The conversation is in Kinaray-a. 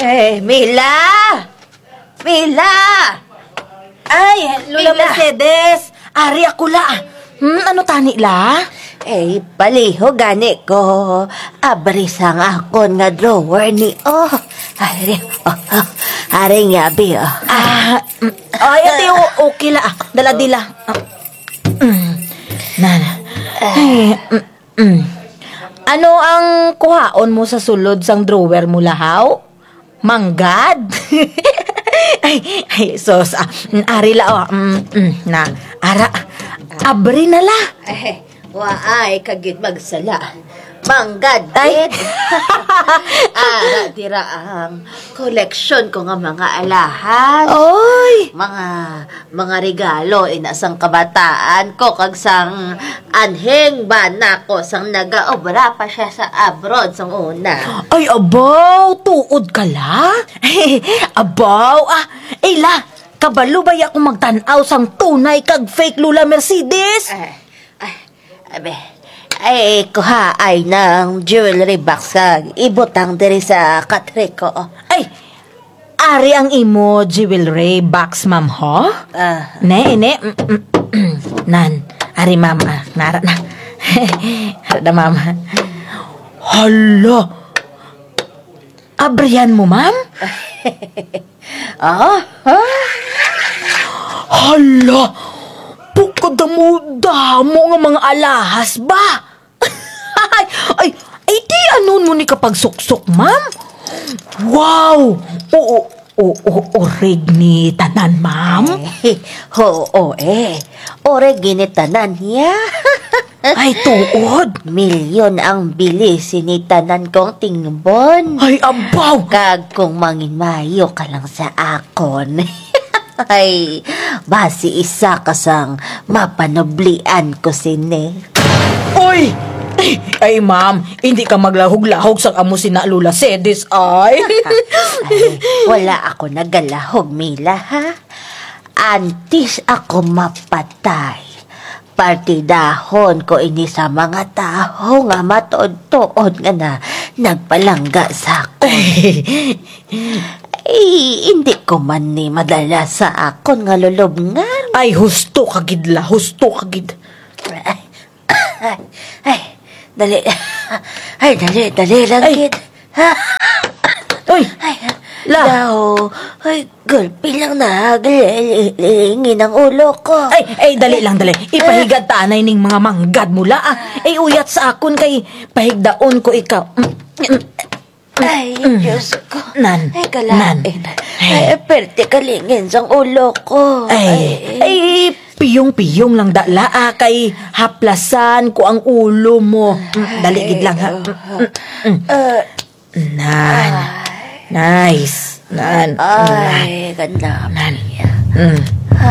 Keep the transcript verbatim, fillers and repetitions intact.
Eh, Mila! Mila! Ay, Lola Mila! Mercedes! Ari ako la. Hmm, ano tani la? Eh, palihog gani ko. Abri sang akon nga drawer ni, oh. Ari, oh, oh. Ari nga, abi, oh. Ah, mm, ay, ate, o-, okay la. Ah, dala dila. Ah, mm. Nan. Ay, mm, mm. Ano ang kuhaon mo sa sulod sang drawer mo, la, haw? Manggad? Ay, ay, sus, ah, mm, ari la, oh, mm, mm, na, ara, abri na la. Eh, waay ka gid magsala. Manggad gid. Ara, dira ang koleksyon ko nga mga alahas. Oy! Mga mga regalo, ina, sang kabataan ko, kag sang anhing bana ko, sang nagaobra pa siya sa abroad, sang una. Ay, abaw, tuod ka la? Abaw, ah, ay la, kabalo baya ko magtan-aw sang tunay kag fake Lola Mercedes? Eh, ay, Abi, ay, kuhaay nang jewelry box kag ibutang diri sa katre ko. Ay, ari ang imo jewelry box, ma'am, ho? Ah. Ne, ne, mm, mm, mm. Nan, ari, ma'am, ah, nara na. Ara na, ma'am. Hala, abrihan mo, ma'am? Ah? Ha? Hala! Pagkadamo-damo nga mga alahas ba? Ay, ay, ay, di ano mo ni kapagsuksok, ma'am? Wow! Oo, oo, oo, orig ni tanan, ma'am? Eh, oo, eh. Orig ni tanan, ya. Ay, tuod. Milyon ang bili sini tanan kong tingbon. Ay, abaw! Kag kung mangin maayo ka lang sa akon. Ay, basi isa ka sang mapanublian ko sini. Uy! Ay, ma'am, hindi ka maglahog-lahog sang amo sina Lola Cedes, ay. Ay, wala ako nagalahog, Mila, ha? Antes ako mapatay, partidahon ko ini sa mga tawo nga matuod-tuod nga na nagpalangga sa akon. Ay, hindi ko man ni madala sa akon nga lulubngan. Ay, husto ka gid la, husto ka gid. Ay, ay, dali. Ay, dali, dali lang gid. Uy! Ay, la. Daw. Ay, gulpi lang na. Gal-, lingin ang ulo ko. Ay, ay, dali lang, dali. Ipahigad ta anay ning mga manggad mo la, ah. Ay, uyat sa akon kay pahigdaon ko ikaw. Mm, mm. Ay, mm. Diyos ko. Nan, ay, kalain. Nan. Ay, perte kalingin sang ulo ko. Ay, ay, piyong-piyong lang da la, ah, kay haplasan ko ang ulo mo. Mm, dali gid lang, ha. Ay, mm, mm, mm. Ah. Nan. Nice. Nan. Ay, ganda. Nan. Mm.